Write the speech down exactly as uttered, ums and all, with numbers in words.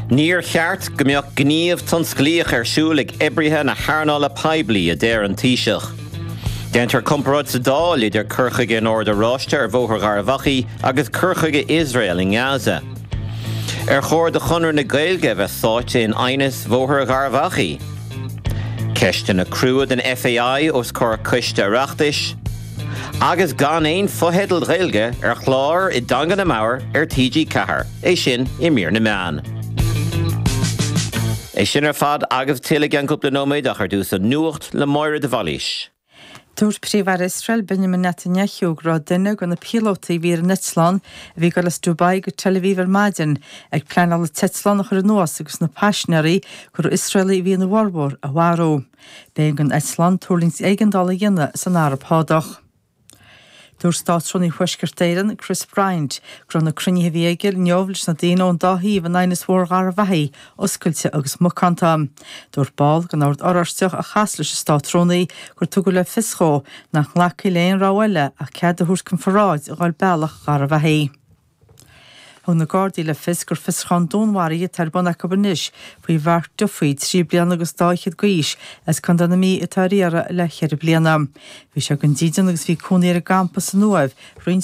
Níor cheart go mbeadh gníomh tionsclaíoch ar siúl ag oibrithe na hearnála poiblí, a deir an Taoiseach. Déantar comparáid sa Dáil idir cur chuige an Ord Oráiste ar Bhóthar Gharbhachaidh agus cur chuige Iosrael i nGaza. Ar chóir do Chonradh na Gaeilge a bheith sáite in aighneas Bhóthar Gharbhachaidh? Ceisteanna crua den F A I os comhair coiste Oireachtais, agus gan aon fotheidil Ghaeilge ar chlár i dteanga na mbodhar ar T G Ceathair, é sin i mír na meán. É sin ar fad agus tuilleadh i gceann cúpla nóiméad, ach ar dtús an nuacht le Máire de Bhailís. Dúirt Príomh-Aire Iosrael Benjamin Netanyahu go raibh duine de na píolótaí a bhí ar an eitleán a bhí ag dul as Dubai go Tel Aviv ar maidin ag pleanáil an t-eitleán a chur anuas agus na paisinéirí, gur Iosraelaigh a bhí ina bhformhór, a mharú. B'éigean don eitleán tuirlingt éigeandála a dhéanamh san Araib Shádach. Dúirt Státrúnaí Thuaisceart Éireann, Chris Bryant, go raibh na cruinnithe a bhí aige inniu leis na daoine ón dá thaobh in aighneas Bhóthar Gharbhachaidh oscailte agus macánta. Dúirt ball den Ord Oráisteach a chas leis an Státrúnaí gur tugadh le fios dhó nach nglacfaí le aon rogha eile ach cead a thabhairt chun pharáid a ghabháil bealach Gharbhachaidh. Thug na Gardaí le fios gur fiosrúchán dúnmharaithe atá ar bun acu anois faoi Mhark Duffy, trí bliana agus dá fhichead d'aois, as Contae na Mí, atá ar iarraidh le ceithre bliana. Bhí sé gan dídean agus bhí cónaí ar an gcampas san Uaimh roinnt.